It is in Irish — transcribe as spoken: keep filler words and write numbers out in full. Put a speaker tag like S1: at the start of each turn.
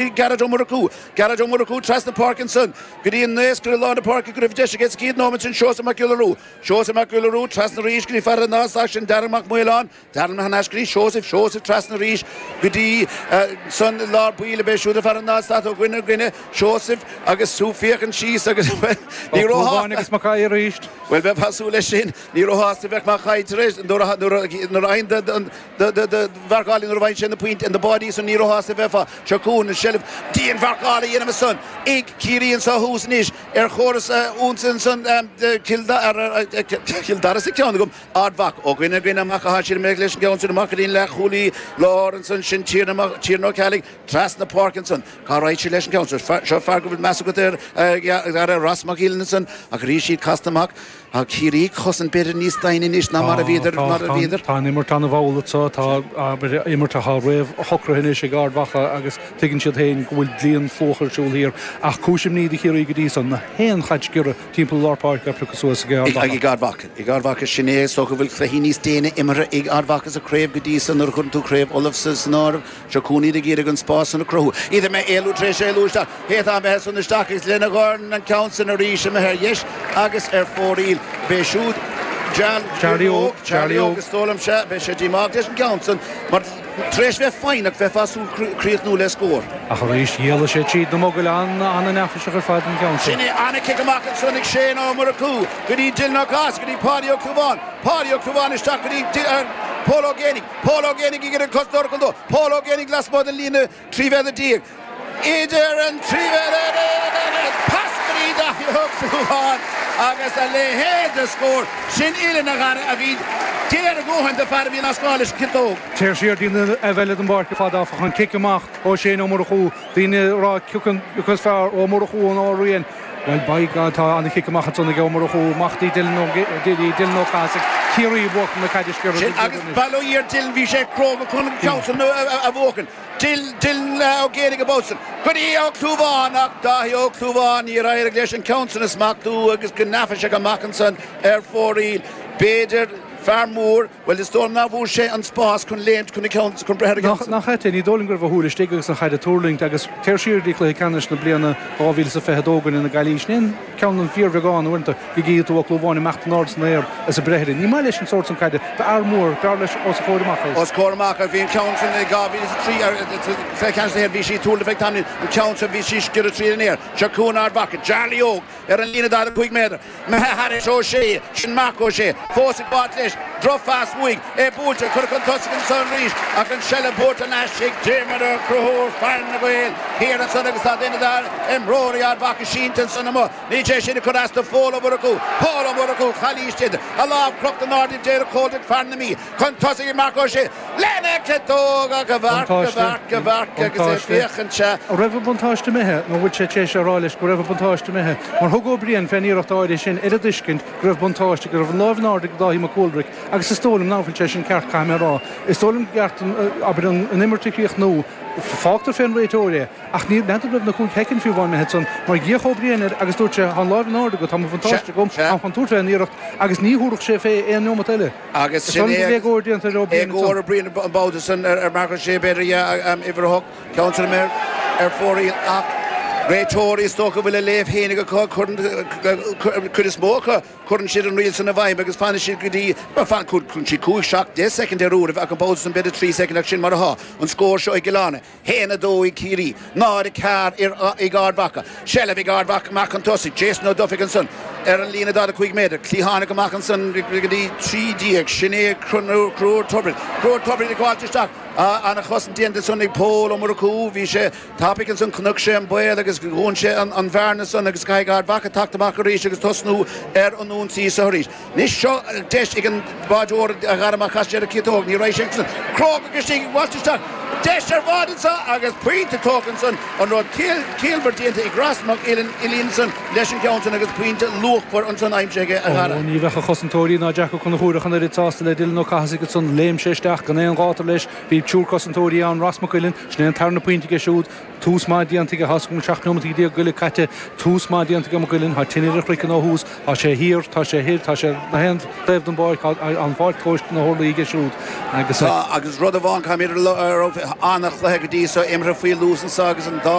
S1: Gearóid Ó Murchú Gearóid Ó Murchú trasna páirce ansan go dtí an naoscaire i lár na páirce go raibh deis aige sa chéad nóiméad sin Seosamh Mac Giolla Rua Seosamh Mac Giolla Rua trasna arís go dtí fear an Nás sin Darragh Mac Maoláin Darragh thar n-ais go dtí Seosamh Seosamh trasna arís go dtí san lár baill a b'é siúd a fear an Nás ó dhuine go duine Seosamh agus tú féachaint síos agus bhuel ní
S2: róshásta agus Mac Aodha arís.
S1: Bhuel bheifeá ag súil leis sin ní róshásta a bheadh Mac Aodha tar éis nuair a nuair a fhaigheann mharcáil nuair a bhain sé na pointí na báidí san ní róshásta a bheifeá. Seo chugainn an seilbh dianmharcáil a dhéanamh ansan ag Ciarraí anso thuas anois ar chóras ionsaí ansan Cill Cill Dara sa ceann agam Ard Mhacha ó dhuine go duine amach atá siad imithe leis an gceann sin amach go dtí an leathchúlaí láir ansan sin Tiarna Tiarna Ó Ceallaigh trasna páirce ansan cá raghaidh siad leis an gceann seo seo fear go bhfuil meas agat air ar Ross Mac Uilinn ansan ach arís iad casta amach Tá Ciarraí ag cosaint b'fhéidir níos doimhne anois ná mar a bhíodar mar a bhíodar.
S2: Tá an imirt an-mhall anseo, tá abair imirt atá réamhshocraithe anois ag Ard Mhacha agus tuigeann siad féin go bhfuil dlí an phluais ar siúl thiar. Ach cúis imní do Chiarraí go dtí so, na haon chaid sciorra timpeall lár páirce á piocadh suas ag Ard
S1: Mhacha. Ag Ard Mhacha. Ag Ard Mhacha sin é is dócha go bhfuil cluichí níos déine imeartha ag Ard Mhacha sa chraobh go dtí so nuair a chuireann tú craobh Uladh san áireamh. Seo chugainn iad ag iarraidh an spás san a chruthú. Iad imithe éalú tar éis éalú isteach. Cé atá imithe san isteach agus lena dhorn an ceann san arís imithe ar dheis agus ar fóraoil. B'é siúd Charlie Óg, Charlie Óg is dóigh liom, sea, beidh sé díomách leis an gceann san mar tar éis bheith foighneach bheifeá ag súil críochnú le scór.
S2: Ach arís d'éalaigh sé tríd na mogaill an-neafaiseach ar fad an ceann
S1: sin. Sin é, an-chic amach ansan ag Shane Ó Murchú go dtí Dylan Ó Cathasaigh, go dtí Páidí Ó Clúmháin, Páidí Ó Clúmháin isteach go dtí Pól Ó Géibheannaigh. Pól Ó Géibheannaigh ag iarraidh an cosantóir a chur dó. Pól Ó Géibheannaigh lasmuigh den líne trí mhéadar déag. Idir an trí mhéadar déag pas go dtí Daithí Ó Clúmháin agus a leithéid de scór. Sin uillinn a Dhara a bhí géar a dhóthain do fear a bhí in Ascaill leis an chiotóg.
S2: Téir siar dtí an taobh eile den bpáirc ar fad áfach, an cic amach ó Shane Ó Murchú, daoine ag rá cioca is fearr Ó Murchú nó Ó Riain. Bhuel, by God, tá an-chic amach ansan ag Ó Murchú, amach dtí Dylan Ó Dylan Ó Cathasaigh, Ciarraí ag buachan na caide sciorrtha
S1: Sin agus bail ó Dhia ar Dylan, bhí sé cróga chun an ceann san a bhuachan. Dylan Ó Géibheannaigh an babhta san. Go dtí Ó Clúmháin ach Dáithí Ó Clúmháin, níor éirigh leis an ceann san a smachtú agus go neafaiseach amach ansan ar fóraoil. B'fhéidir, fear mór, Bhuel, is dóigh liom nach bhfuair sé an spás chun léimt chun a ceann, chun breith ar a
S2: gceann. Nach ait é, ní dóigh liom go raibh a shúil istigh agus an chaid ag tuirlingt agus téir siar go dtí cluiche ceannais na bliana dhá mhíle is a fiche a dó i gcoinne na Gaillimhe. Sin é an ceann an fíorbheagán uaireanta go gcífidh tú Ó Clúmháin imeacht in airde san aer is ag breith uirthi. Ní maith leis an sórt san caide. D'fhear mór, b'fhearr leis os a chomhair amach
S1: é. Os comhair amach, bhí an ceann san i dhá mhíle is a trí ar chluiche ceannais na hÉireann, bhí sí ag tuirlingt feadh tamaillín, an ceann san bhí sí sciorradh tríd an aer. Seo chugainn Ard Mhacha, Charlie Óg ar an líne daichead a cúig méadar. Imithe thairis Ó Sé, sin Marc Ó Sé, fós ag gabháilt leis, drochphas uaidh, é buailte, curtha chun tosaigh ansan arís ach an seilbh buaite thar n-ais ag Diarmuid Ó Conchúir, fear na Gaeil thiar ansan agus tá duine d'imreoirí Ard Mhacha sínte ansan amuigh. Níl sé sin ag cur as do Phól Ó Murchú, Pól Ó Murchú, calaois idir a lámh crochta in airde ag Daire Coldrick, fear na Mí, chun tosaigh ag Marc Ó Sé lena chiotóg ach amharc, amharc, amharc agus é ag féachaint
S2: sea. An raibh an buntáiste imithe nó bhfuil sé tar éis a rá leis go raibh an buntáiste imithe? Mar thug Ó Briain fén iarracht áirithe sin ar an dtuiscint go raibh buntáiste, go raibh an lámh in airde ag Dáithí Mac Cúlraic agus is dóigh liom nach bhfuil sé sin ceart, caithfidh mé a rá. Is dóigh liom gur ceart an, abair, an imirt a chríochnú. Fágtar fén réiteoir é. Ach ní, n'fheadar raibh na cúig shoicind fiú amháin imithe ansan mar d'fhéach Ó Briain air agus dúirt sé, tá an lámh in airde agat, tá mo bhuntáiste agam, táim chun tabhairt fén iarracht agus ní thabharfadh sé fé aon neomat eile.
S1: Agus sin é
S2: éagóir déanta ar Ó
S1: Briain ansan. Éagóir Ó Briain an babhta san ar Marc Ó Sé b'fhéidir, yeah, uimhir a hocht, ceann san imithe ar fóraoil ach réiteoirí is dócha a bhfuil a léamh féinig acu, cuireann, cuid is mó acu, cuireann siad an riail san i bhfeidhm agus fanann siad go dtí, bhuel, fan, cuireann siad cúig, seacht, deich soicind ar uairibh ach an babhta san b'fhéidir trí soicind ach sin mar atá an scór seo i gCill Airne. haon a dó ag Ciarraí, náid a ceathair ag Ard Mhacha. Seilbh ag Ard Mhacha amach chun tosaigh. Jason Ó Dufaigh ansan ar an líne daichead a cúig méadar. Cliathánach amach ansan go dtí trí déag. Sin é Conchúr Tubridy. Conchúr Tubridy ag gabháilt isteach. Ana-chosaint déanta ansan ag Pól Ó Murchú. Bhí sé tapaidh ansan, chonaic sé an baol agus dhún sé an bhearna san agus caithfidh Ard Mhacha teacht amach arís agus tosnú ar an ionsaí so arís. Anois seo deis ag an báideoir a Dhara má chas sé ar a chiotóg. Ní raibh sé ansan. Cróga istigh ag gabháilt isteach. Deis ar bháide anso agus pointe tógtha ansan. An rud ciallmhar déanta ag Ross Mac Uilinn ansan leis an gceann san agus pointe luachmhar ansan aimsithe aige a Dhara.
S2: Ó, ní bheadh a chosantóirí ná Jack Ó Conchúir ach an oiread sásta le Dylan Ó Cathasaigh ansan. Léim sé isteach gan aon ghátar leis. Bhí triúr cosantóirí ann, Ross Mac Uilinn, sin é an tarna pointe aige siúd. Tús maith déanta aige tá seacht nóiméad déag go leith caite tús maith déanta ag Maigh Cuilinn, tá tine ar a chraiceann ó thús, tá sé thiar, tá sé thoir, tá sé na haon taobh den bpáirc, an pháirc tomhaiste na hurlaí aige siúd agus
S1: Tá agus rud amháin caithfimid a raibh an-chluiche go dtí seo imeartha faoi luas anseo agus an dá